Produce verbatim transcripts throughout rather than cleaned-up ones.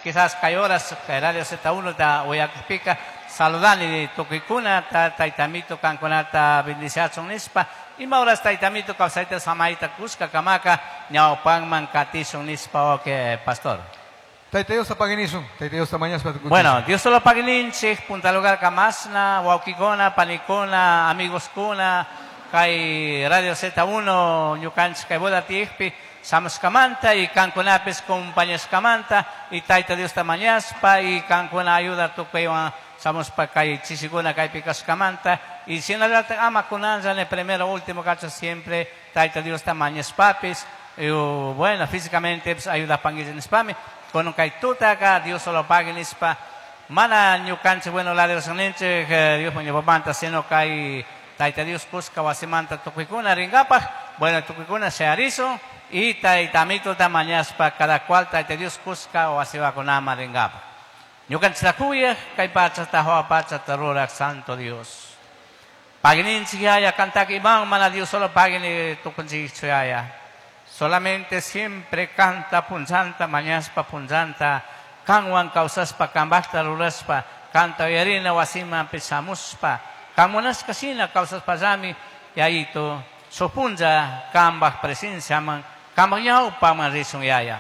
Quizás kay horas kay Radio Z uno ta uyakpika saludani tukuykunata, Taytamito kankunata bendiciachun nispa. Ima horas Taytamito kawsayta samayta kushka kamaka ñawpanman katishun nispa. Ok, pastor. Tayta Diosta pagui nisun, Tayta Diosta mañashpa tukuchisun. Bueno, Dios solo pagui ninchik, punta lugar kamasna, wawkikuna, panikuna, amigos kuna, kay Radio Z uno, ñukanchik kay boda tiyakpi, shamushkamanta y kankunapis compañashkamanta y Tayta Diosta mañashpa y kankuna ayuda tukuywan shamushpa kay chishikuna kaypi kashkamanta y shinallatak ama kunanlla primero último cacho siempre Tayta Diosta mañashpapis y, bueno, físicamente pues, ayuda nishpami con kay tutaka Dios solo pagui nispa. Mana ñukanchik, bueno, la Dios ninchik Dios ñawpamanta, sino kay Tayta Dios kushka wasimanta tukuykuna ringapaj. Bueno, tukuykuna shayarisun y Taytamituta mañashpa cada cual Tayta Dios kushka wasiwakunaman ringapaj. Ñukanchik kuyaj kay pachata hawa pachata ruraj Santo Dios, pagui ninchik, Yaya. Kantaka iman mana Dios solo pagui ni tukunchikchu, Yaya. Solamente siempre kanta punllanta mañashpa, punllanta kanwan kawsashpa, kambajta rurashpa, kanta uyarina wasiman shamushpa, kan munashka shina kawsashpallami, Yayito, shuk punlla kambaj presenciaman, kambaj ñawpaman rishun, Yaya.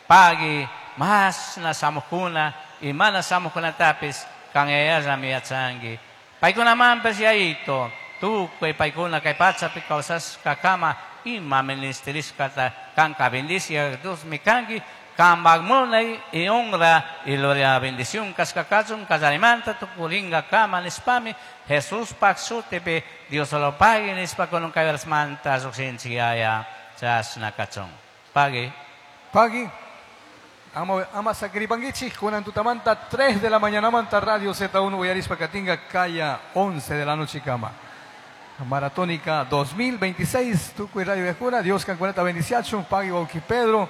Pagui mashna shamujkuna y mana shamujkunatapis kan Yayallami yachanki. Paykunamanpish, Yayito, tukuy paykuna kay pachapi kawsashkakama ima ministerishkata kanka bendicia Diosmi kanki. Kambaj munay y honra y gloria bendición kashka kachun kallarimanta tukuringakama nishpami Jesuspaj shutipi Dios solo pagui nishpa kunan kay horasmanta llukshinchik, Yaya. Chashna kachun. Pagui. Pagui. Ama, ama sakiripanguichik, kunan tutamanta tres de la mañana manta Radio Z uno uyarispa katinga kaya once de la noche kama. Maratónica dos mil veintiséis, tukuy radio uyajkuna, Dios kankunata bendiciachun, pagui wawki Pedro,